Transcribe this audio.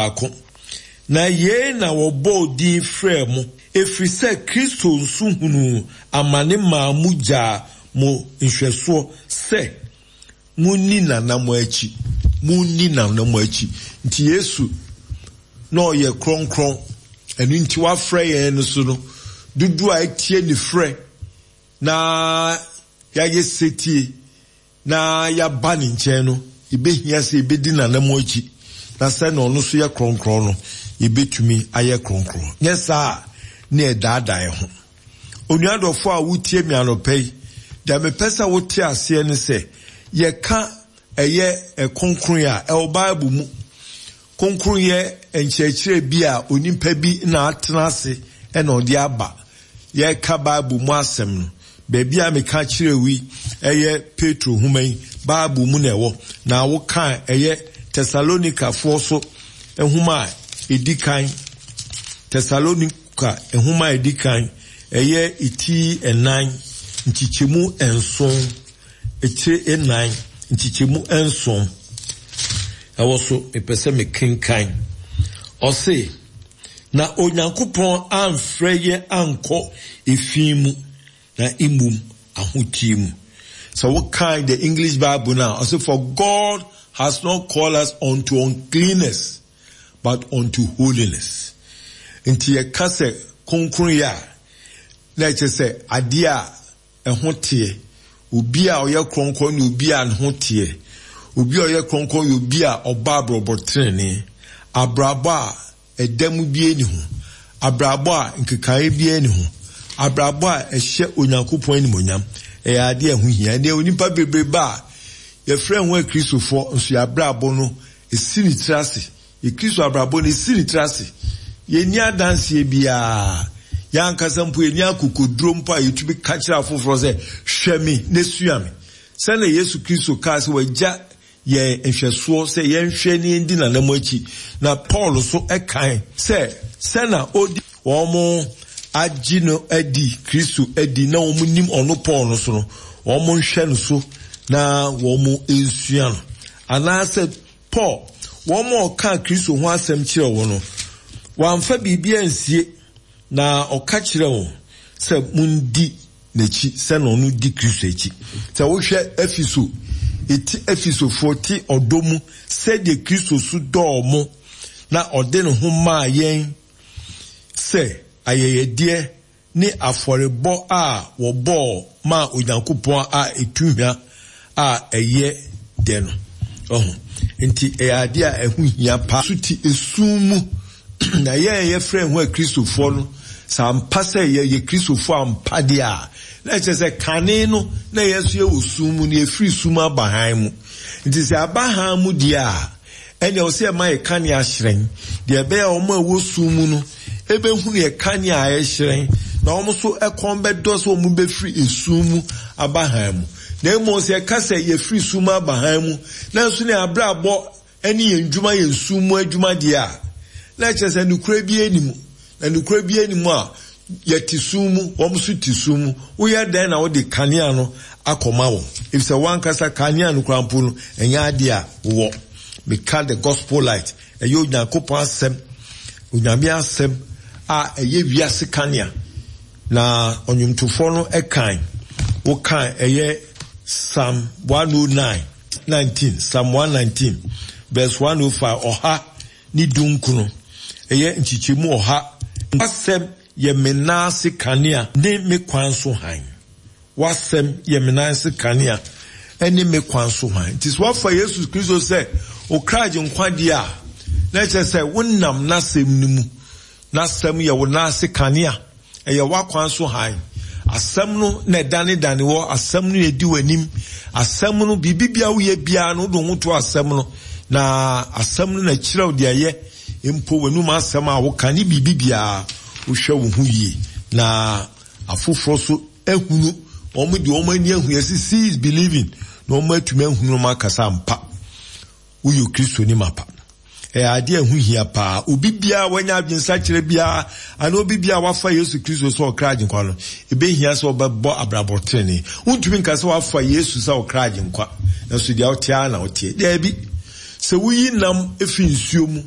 baako. Na yei na wɔbɔɔ din frɛɛ mo, ɛfiri sɛ Kristo nso hunuu amane maa mo gyaa mo nhwɛsoɔ sɛ monni n'anammɔn akyi. Monni n'anammɔn akyi. Nti Yesu na ɔyɛ kronkron, ɛno nti wafrɛ yɛn no so no, dodoɔ a atie ne frɛ na yɛayɛ setie na yɛaba ne nkyɛn no, ebehia sɛ yebedi n'anammɔn akyi, na sɛnea ɔno nso yɛ kronkron no, yebetumi ayɛ kronkron. Nyɛ saa a, na yɛdaadaa yɛn ho. Onua dɔfo a wutie me anɔpa yi, deɛ mepɛ sɛ wote aseɛ ne sɛ, yɛka ɛyɛ kronkronyɛ a, ɛwɔ Bible mu. Kronkronyɛ nkyerɛkyerɛ bi a onipa bi na atena ase na ɔde aba. Yɛreka Bible mu asɛm no, baabi a meka kyerɛɛ wo yi, ɛyɛ Petro nhoma yi, Bible mu na ɛwɔ. Na woka ɛyɛ Tesalonikafoɔ so nhoma a ɛdi kan, Tesalonika nhoma a ɛdi kan, ɛyɛ ti nnan, nkyekyɛmu nson. Etire nnan, nkyekyɛmu nson, ɛwɔ so, mepɛ sɛ mekenkan. Ɔse, Na Onyankopɔn amfrɛ yɛn ankɔ efi mu, na mmom ahoteɛ mu. Sɛ wokan the English Bible no a, ɔse, For God has not called us unto uncleanness, but unto holiness. Nti yɛka sɛ kronkronyɛ a, na ɛkyerɛ sɛ adeɛ a ɛho teɛ. Obi a ɔyɛ kronkron ne obi a ne ho teɛ. Obi a ɔyɛ kronkron yɛ obi a ɔbɔ abrabɔ trenee, abrabɔ a ɛdɛm biara nni ho, abrabɔ a nkekaeɛ biara nni ho, abrabɔ a ɛhyɛ Onyankopɔn animuonyam. Ɛyɛ adeɛ a ɛho hia. Ɛnnɛ onipa bebrebe a yɛfrɛ ho Akristofoɔ nso yɛn abrabɔ no si ne tiri ase. Yɛ Kristo abrabɔ no esi ne tiri ase. Yenni adanseɛ biara. Yɛn ankasa mpo yenni akokoduro mpo a yɛtumi ka kyerɛ afoforɔ sɛ, Hwɛ me na sua me. Sɛdeɛ Yesu Kristo kaa sɛ wagya yɛn nhwɛsoɔ sɛ yɛnhwɛ na yɛndi n'anammɔn akyi, na Paul nso kae sɛ sɛnea ɔdi wɔn agye no adi, Kristo adi, na wɔn nim ɔno Paul no so no, wɔn nhwɛ no so na wɔn nsua no. Anaasɛ Paul, wɔn a ɔkaa Kristo ho asɛm kyerɛɛ wɔn no, wamfa biribi ansie, na ɔka kyerɛɛ wɔn sɛ, Mundi n'akyi sɛnea ɔno di Kristo akyi. Sɛ wohwɛ Efeso, eti Efesofoɔ te ɔdɔ mu sɛdeɛ Kristo nso dɔɔ mo na ɔde ne ho maa yɛn sɛ ayɛyɛdeɛ ne afɔrebɔ a wɔbɔɔ maa Onyankopɔn a etu hwa a ɛyɛ dɛ no. Wahu? Enti ɛyɛ ade a ɛho hia paa. So te esum mu. Na yɛn a yɛfrɛ yɛn ho Akristofoɔ no, sɛ ampa sɛ yɛyɛ Kristofoɔ ampa deɛ a, na ɛkyerɛ sɛ kane no na yɛn nso yɛwɔ sum mu, na yɛfiri sum aba hann mu. Nti sɛ aba hann mu deɛ a, Ɛnneɛ ɛwɔ sɛ yɛma yɛn kanea hyerɛn, deɛ ɛbɛyɛ a wɔn a ɛwɔ sum mu no bɛhunu yɛn kanea a ɛrehyerɛn, na wɔn nso kɔn bɛdɔ sɛ wɔbɛfiri esum mu aba hann mu. Na mmom sɛ yɛka sɛ yɛfiri sum mu aba hann mu, nanso ne abrabɔ ne yɛn nnwuma yɛ sum mu adwuma deɛ a, na ɛkyerɛ sɛ nokorɛ biara nni mu. Na nokorɛ biara nni mu a, yɛte sum mu, wɔn nso te sum mu. Woyɛ dɛn na wode kanea no akɔma wɔn? Efisɛ w'ankasa kanea no koraa mpo no, ɛnyɛ adeɛ a wowɔ. Meka the gospel light, ɛyɛ Onyankopɔn asɛm, Onyame asɛm a ɛyɛ wiase kanea. Na ɔnwomtofoɔ no kan, wokan ɛyɛ Psalm 109, 19, Psalm 119, verse 105, ɔha ne dunkono, ɛyɛ nkyekyɛmu ɔha. W'asɛm yɛ me nan ase kanea ne me kwan so hann. W'asɛm yɛ me nan ase kanea ne me kwan so hann. Nti sɛ woafa Yesu Kristo sɛ wo kra agyenkwa deɛ a, na ɛkyerɛ sɛ wonam n'asɛm no mu. N'asɛm yɛ wo nan ase kanea. Ɛyɛ w'akwan so hann. Asɛm no na ɛdanedane wɔ, asɛm no na edi w'anim. Asɛm no, biribi biara woyɛ biara no, wode wo ho to asɛm no, na asɛm no na ɛkyerɛ wo deɛ ɛyɛ. Mpo w'anum asɛm a woka ne biribi biara, wohwɛ wo ho yie na afoforɔ so ahunu. Wɔn de wɔn ani ahu, yɛse see is believing, na wɔn atumi ahunu na wɔn akasa ampa. Woyɛ Kristoni mapa. Ɛyɛ adeɛ a ɛho hia paa. Obi biara a wanya adwensakyera biara anaa obi biara a wafa Yesu Kristo sɛ ɔkra agyenkwa no, ɛbɛhia sɛ ɔbɛbɔ abrabɔ tenenee. Wontumi nka sɛ wafa Yesu sɛ ɔkra agyenkwa, nanso deɛ wote ara na woteɛ. Daabi. Sɛ woyi nam fi nsuo mu.